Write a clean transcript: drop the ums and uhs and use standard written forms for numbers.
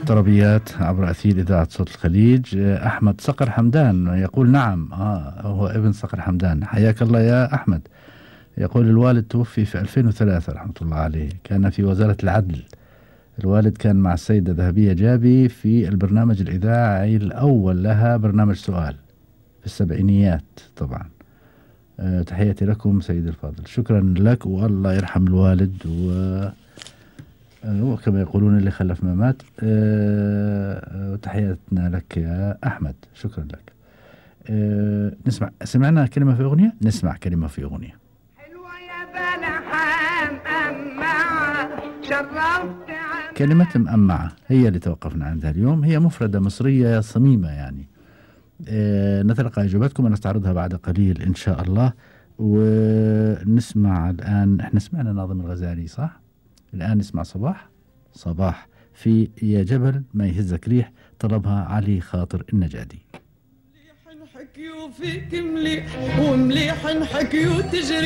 طربيات عبر أثير إذاعة صوت الخليج. أحمد صقر حمدان يقول نعم، هو ابن صقر حمدان. حياك الله يا أحمد. يقول الوالد توفي في 2003 رحمة الله عليه، كان في وزارة العدل. الوالد كان مع السيدة ذهبية جابي في البرنامج الإذاعي الأول لها، برنامج سؤال في السبعينيات طبعا. تحياتي لكم سيد الفاضل. شكرا لك، والله يرحم الوالد، وكما يقولون اللي خلف ما مات. تحياتنا لك يا أحمد، شكرا لك. سمعنا كلمة في أغنية، نسمع كلمة في أغنية. حلوة يا بلحان أمعة شرفت كلمة مأمعة هي اللي توقفنا عندها اليوم، هي مفردة مصرية صميمة يعني. نتلقى إجاباتكم ونستعرضها بعد قليل إن شاء الله. ونسمع الآن، احنا سمعنا ناظم الغزالي صح؟ الآن نسمع صباح في يا جبل ما يهزك ريح، طلبها علي خاطر النجادي. مليح نحكي وفيك مليح، ومليح نحكي وتجري